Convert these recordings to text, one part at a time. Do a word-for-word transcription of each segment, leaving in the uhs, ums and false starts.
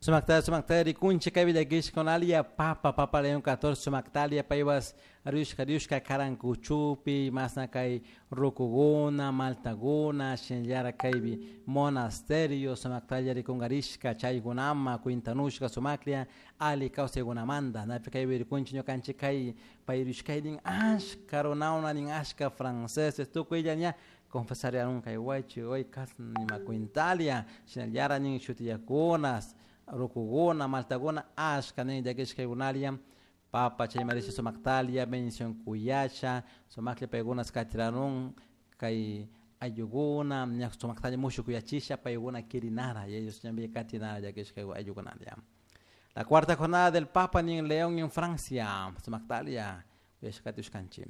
Sumakta sumakta rikunchik kay llakishkunalia papa papa León catorce sumaktalia paywas riushka riushka karankuchupi masna kay rukuguna maltaguna shinallara kaypi monasterio sumaktalla rikunkarishka chaykunama kwintanushka sumaklla ali kawsaykunamanta napi kaypi rikunchik ñukanchik kay pay riushkaynin ashka runawna nin ashka franceses tukuylla ña confesariarun kay waychi way kasna nima kwintalia shinallara nin shutiyakunas rukuguna maltaguna ashka nin llakishkaykunalia papa chaymarisha sumaktalia bendición kuyasha sumaklla paykunas katiranun kay ayllukuna ña sumaktalla mushukuyachisha paykuna kirinara y ellos ñampi katinara llakishka ayllukunalia. La cuarta jornada del Papa en León en Francia, sumaktalia uyashkatiushkanchik.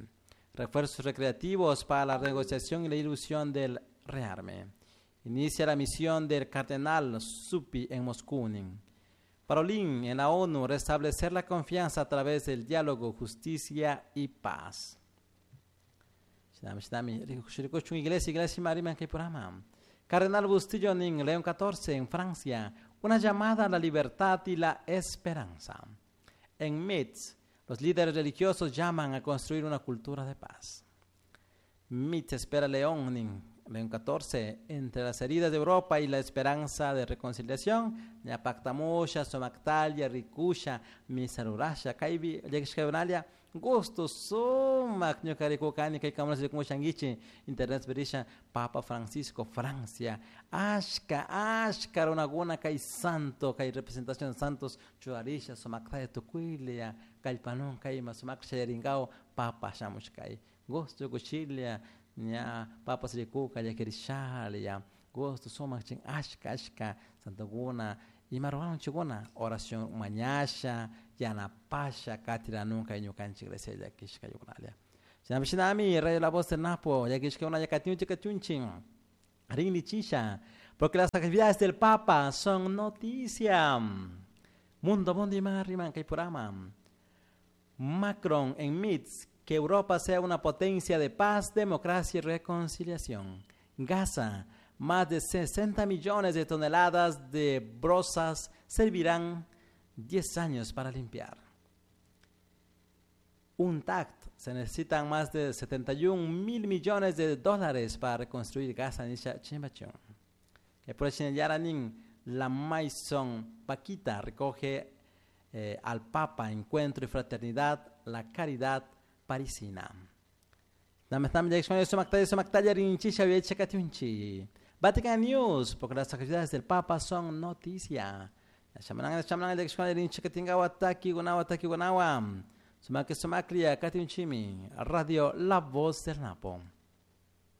Refuerzos recreativos para la negociación y la ilusión del rearme. Inicia la misión del cardenal Zuppi en Moscú. Parolin en la ONU, restablecer la confianza a través del diálogo, justicia y paz. Iglesia, iglesia, Cardenal Bustillo en León catorce en Francia, una llamada a la libertad y la esperanza. En Metz, los líderes religiosos llaman a construir una cultura de paz. Mitz espera León, León catorce, entre las heridas de Europa y la esperanza de reconciliación, ñapactamusha, sumaktalia, rikusha, misarurasha, kaypi llakishkaykunalia, gusto sumak ñuka rikukani kay kamunas rikumushankichik, internet perisha, Papa Francisco, Francia, ashka, ashka runakuna kay santo, kay representación de santos, churarisha, sumaktalla tukuylla, kallpanun kayma sumak shayarinkaw, Papa shamushkay, gusto kushilla, ña papas rikuka llakirishalia, gusto sumak chin ashka, ashka, santokuna, ima ruranchikuna, oración mañasha, yanapasha, katiranun kay ñukanchik iglesia llakishkayukunalia. Shinami shinami, Radio La Voz del Napo, llakishkayuna llakatiunchik katiunchin, rinlichisha, porque las actividades del Papa son noticia. Mundo, mundo y más riman kay purama. Macron en Mitz, que Europa sea una potencia de paz, democracia y reconciliación. Gaza, más de sesenta millones de toneladas de brozas servirán diez años para limpiar. Un tact, se necesitan más de setenta y un mil millones de dólares para reconstruir Gaza, nisha chimbachón. Que por ejemplo, la Maison Paquita recoge, eh, al Papa encuentro y fraternidad, la caridad parisina. Vatican News, porque las actividades del Papa son noticia. Radio La Voz del Napo.